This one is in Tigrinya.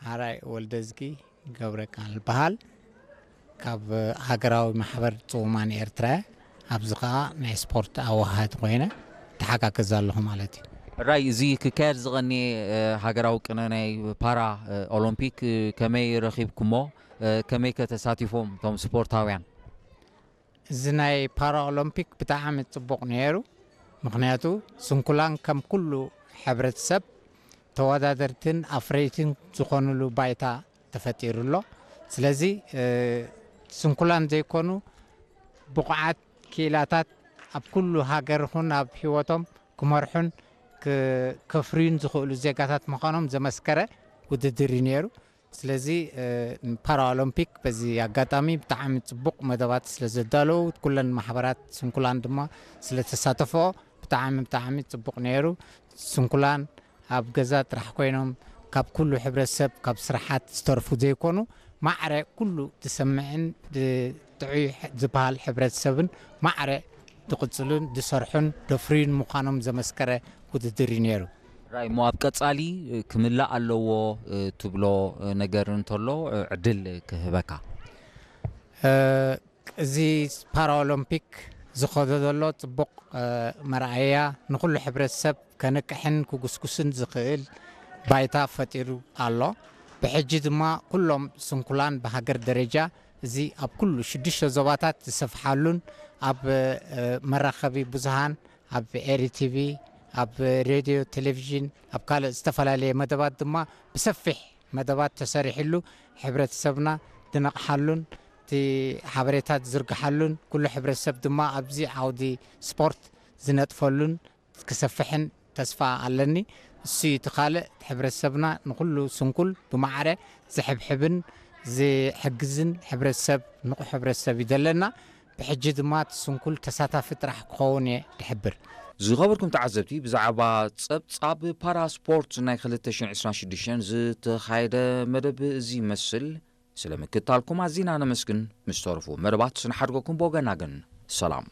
ሓራይ ወልደዝጊ ገብረ ቃል በሃል፣ ካብ ሃገራዊ ማሕበር ጽውማን ኤርትራ፣ ኣብዚ ኸኣ ናይ ስፖርት ኣወሃሃዲ ኮይነ ተሓጋግዝ ኣለኹ ማለት እዩ። ራይ፣ እዚ ክካየድ ዝቐንየ ሃገራዊ ቅነ ናይ ፓራ ኦሎምፒክ ከመይ ረኺብኩሞ? ከመይ ከ ተሳቲፎም እቶም ስፖርታውያን? እዚ ናይ ፓራ ኦሎምፒክ ብጣዕሚ ጽቡቕ ነይሩ። ምኽንያቱ ስንኩላን ከም ኩሉ ሕብረተሰብ ተወዳደርትን ኣፍረይትን ዝኾኑሉ ባይታ ተፈጢሩ ኣሎ። ስለዚ ስንኩላን ዘይኮኑ ብቑዓት ክኢላታት ኣብ ኩሉ ሃገር ይኹን ኣብ ህይወቶም ክመርሑን ከፍርዩን ዝኽእሉ ዜጋታት ምዃኖም ዘመስከረ ውድድር እዩ ነይሩ። ስለዚ ፓራኦሎምፒክ በዚ ኣጋጣሚ ብጣዕሚ ጽቡቕ መደባት ስለ ዘዳለዉ፣ ኩለን ማሕበራት ስንኩላን ድማ ስለ ተሳተፈኦ ብጣዕሚ ብጣዕሚ ጽቡቕ ነይሩ። ስንኩላን ኣብ ገዛ ጥራሕ ኮይኖም ካብ ኩሉ ሕብረተሰብ ካብ ስራሓት ዝተርፉ ዘይኮኑ፣ ማዕረ ኩሉ ዝሰምዕን ጥዑይ ዝበሃል ሕብረተሰብን ማዕረ ዝቕጽሉን ዝሰርሑን ደፍርዩን ምዃኖም ዘመስከረ ውድድር እዩ ነይሩ። ራይ፣ እሞ ኣብ ቀጻሊ ክምላእ ኣለዎ ትብሎ ነገር እንተሎ ዕድል ክህበካ። እዚ ፓራኦሎምፒክ ዝኸዶ ዘሎ ጽቡቕ መርኣያ ንኹሉ ሕብረተሰብ ከንቅሕን ክጉስጉስን ዝኽእል ባይታ ፈጢሩ ኣሎ። ብሕጂ ድማ ኩሎም ስንኩላን ብሃገር ደረጃ እዚ ኣብ ኩሉ ሽዱሽተ ዞባታት ዝሰፍሓሉን ኣብ መራኸቢ ብዙሃን ኣብ ኤሪ ቲቪ ኣብ ሬድዮ ቴሌቪዥን ኣብ ካልእ ዝተፈላለየ መደባት ድማ ብሰፊሕ መደባት ተሰሪሕሉ ሕብረተሰብና ዝነቕሓሉን እቲ ሓበሬታ ዝዝርግሓሉን ኩሉ ሕብረተሰብ ድማ ኣብዚ ዓውዲ ስፖርት ዝነጥፈሉን ክሰፍሕን ተስፋ ኣለኒ። እሱ እዩ እቲ ካልእ፣ እቲ ሕብረተሰብና ንኹሉ ስንኩል ብማዕረ ዝሕብሕብን ዝሕግዝን ሕብረተሰብ፣ ንቑሕ ሕብረተሰብ እዩ ዘለና። ብሕጂ ድማ እቲ ስንኩል ተሳታፊ ጥራሕ ክኸውን እየ ድሕብር። ዝኸበርኩም ተዓዘብቲ፣ ብዛዕባ ጸብጻብ ፓራስፖርት ናይ ክልተ ሽሕን ዕስራን ሽዱሽተን ዝተኻየደ መደብ እዚ ይመስል። ስለ ምክትታልኩም ኣዚና ነመስግን። ምስ ተረፉ መደባት ንሓድገኩም ብወገና ግን ሰላም።